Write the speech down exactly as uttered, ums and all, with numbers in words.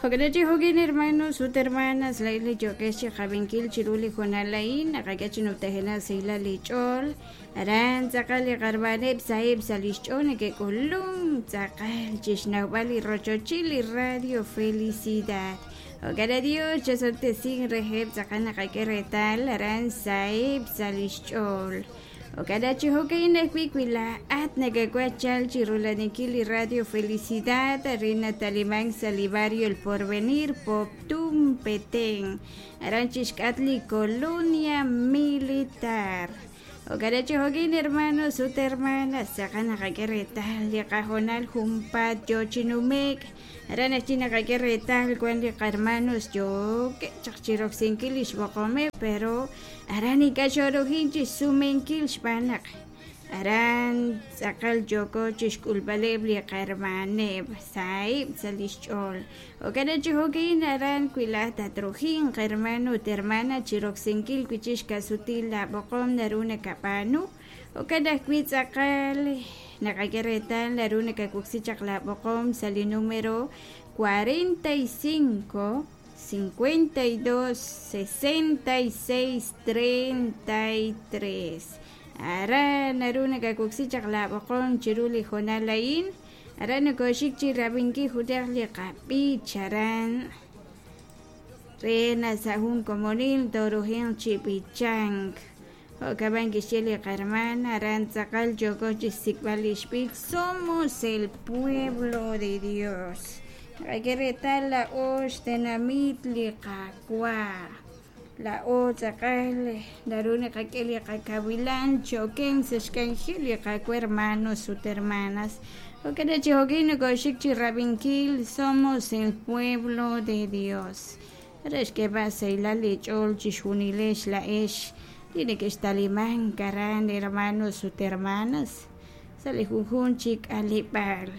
Jo'kan chi jo'kin hermanos ut hermanas laa'in li yookex chi qab'inkil chiru li hoonal a'in naqak'e chi numtajenaq sahilal li ch'ool aran tz'aqal li qarmaneb' saheb' sa' li xch'ool neke'k'ulunk tz'aqal chi xnawb'al li rochochil li Radio Felicidad. Jo'kan Dios chasoltesin reheb' tz'aqal naqak'e reetal aran saheb' sa' li xch'ool. Jo'kan chi jo'kan ajwi' wi laa'at nakawaj chal chi rulaninkil li Radio Felicidad arin natalimank sa' li barrio El Porvenir, Poptún, Petén, aran chixk'atq li Colonia Militar. Jo'kan chi jo'kan hermanos ut hermanas tz'aqal naqak'e reetal li qahoonal junpaat yoo chi nume'k aran ajwi' naqak'e reetal wan li qarmanos yookeb' chaq chi roksinkil li xb'oqomeb' pero aran ink'a' xorujin chi xsumenkil xb'aan naq aran tz'aqal yooko chi xk'ulb'aleb' li qarmaneb' saheb' sa' li xch'ool. Jo'kan chi jo'kan aran wi laa'at tatrujinq hermano ut hermana chi roksinkil wi' chik xka'sutil laab'oqom naru nakab'aanu. Jo'kan ajwi' tz'aqal naqak'e reetal naru nakawoksi chaq laab'oqom sa' li número cuarenta y cinco cincuenta y dos sesenta y seis treinta y tres. Aran naru nakawoksi chaq laab'oqom chiru li hoonal a'in aran nakoxik chi rab'inkil junaq li qab'ich aran re na sa' jun komonil torujinq chi b'ichank. Jo'kan kixye li qarman aran tz'aqal yooko chi xsik'b'al li xb'ich somos el pueblo de Dios. Naqak'e reetal la'o xtenamit li Qaawa'. La'o tz'aqal naru naqak'e li qakawilan choken sa' xk'anjel li Qaawa' hermanos ut hermanas. Jo'kan chi jo'kin nakoxik chi rab'inkil somos el pueblo de Dios. Re xk'eeb'al sahilal li ch'ool chixjunilex la'ex li neke'xtalimank aran hermanos ut hermanas sa' li junjun chi k'aleb'aal.